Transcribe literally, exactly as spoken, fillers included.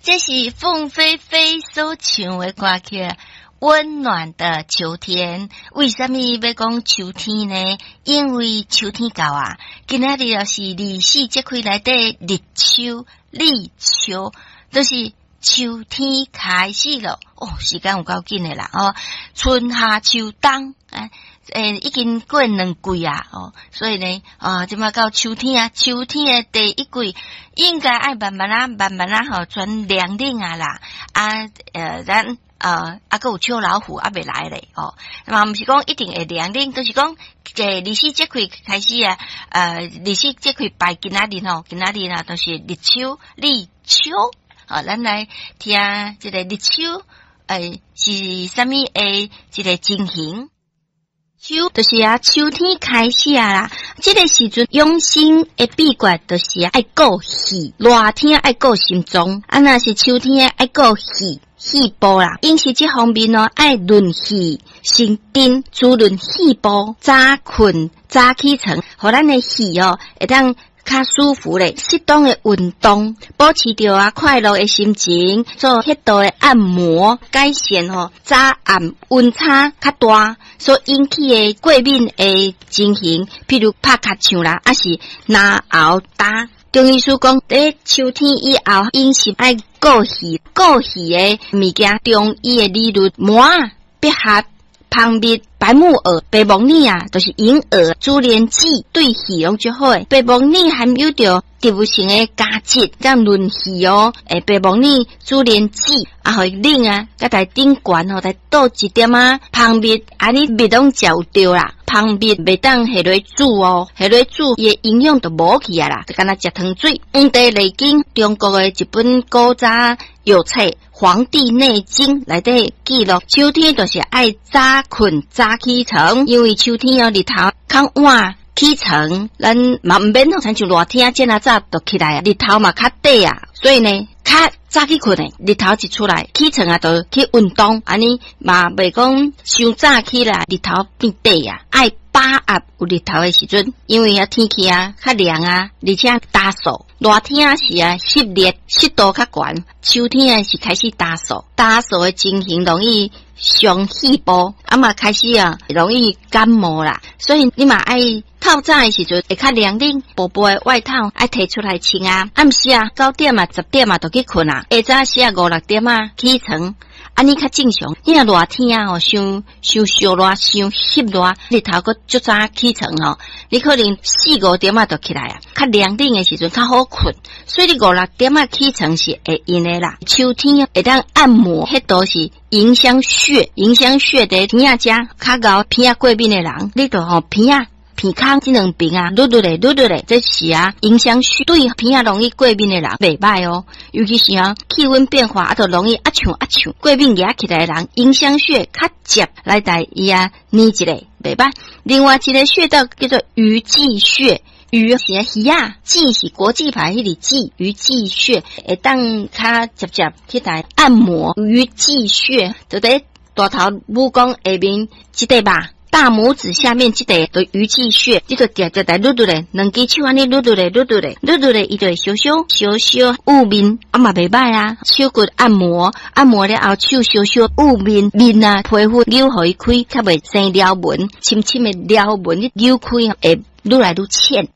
這是鳳飛飛所唱的歌曲《溫暖的秋天》。為什麼欲講秋天呢？因為秋天到啊，今仔日就是二十四節氣內底立秋，立秋就是秋天開始了。哦，時間有夠緊的啦！哦，春夏秋冬，哎。欸，已經過兩季啊，哦，所以呢，啊，這馬到秋天啊，秋天的第一季應該愛慢慢啊，慢慢啊，吼，轉涼冷啊啦，啊，呃，咱呃，啊，閣有秋老虎猶未來咧，哦，嘛毋是講一定會涼冷，就是講，這二十四節氣開始啊，呃，二十四節氣拜今仔日吼，今仔日啊，就是立秋，立秋，好，咱來聽這个立秋，欸，是啥物的這个情形？秋就是啊，秋天開始啊啦，這个時陣養生的秘訣就是愛顧氣，熱天愛顧心臟，啊，若是秋天愛顧氣，肺部啦，飲食這方面哦，愛潤氣生津，滋潤肺部，早睏早起床，予咱的氣哦會當較舒服咧。適當的運動，保持著啊快樂的心情，做適度的按摩，改善吼早暗溫差較大所引起的過敏的情形，譬如拍尻槍啦，抑是嚨喉焦。中醫師講，佇秋天以後，飲食愛顧氣，顧氣的物件，中醫的理論，麻仔、百合、蜂蜜、白木耳、白木耳啊，就是銀耳、珠簾子，對氣攏足好的。白木耳含有著植物性的膠質，這樣潤氣哦。欸，白木耳、珠簾子啊，予伊冷啊，佮來頂懸吼，來倒一點仔蜂蜜，按呢蜜攏食有著啦。蜂蜜袂當下落煮哦，下落煮伊的營養就無去啊啦，就敢若食糖水。《黃帝內經》中國的一本古早藥冊《黃帝內經》內底記錄，秋天就是愛早睏早起床，因為秋天哦日頭較晚起床，咱嘛毋免好親像熱天這若早就起來啊，日頭嘛較短啊，所以呢，較早去睏的，日頭一出來起床啊，就去運動，按呢嘛袂講傷早起來，日頭變短啊，愛把握有日頭的時陣，因為啊天氣啊較涼啊，而且焦燥，熱天時啊濕熱濕度較懸，秋天啊是開始焦燥，焦燥的情形容易傷肺部，啊嘛開始啊容易感冒啦，所以你嘛愛透早的時陣會較涼冷，薄薄的外套愛提出來穿啊。暗時啊九點啊十點啊就去睏啊，下早時啊五六點啊起床，按呢較正常。你若熱天啊吼，傷傷燒熱，傷翕熱，日頭閣足早起床吼，你可能四五點啊就起來啊，較涼冷的時陣較好睏，所以你五六點啊起床是會用的啦。秋天會當按摩，彼都是迎香穴，迎香穴佇鼻仔遮較𠢕鼻仔過敏的人，你就吼鼻仔。鼻孔這兩邊啊，擼擼咧，擼擼咧，這是啊，迎香穴對鼻仔容易過敏的人袂䆀哦。尤其是啊，氣溫變化啊，就容易啊嗆啊嗆過敏惹起來的人，迎香穴較捷來共伊啊，捏一下袂䆀。另外一个穴道叫做魚際穴，魚是魚仔，際是國際牌彼個際，魚際穴會當較捷捷去來按摩魚際穴，就佇大頭拇公下面這塊吧。大拇指下面這塊的魚際穴，這個直直來擼擼咧，兩支手按呢擼擼咧，擼擼咧，擼擼咧，伊就會小小小小霧面，啊嘛袂䆀啊。手骨按摩，按摩了後手小小霧面面啊，皮膚扭予伊開，較袂生條紋，深深的條紋，你扭開會愈來愈淺。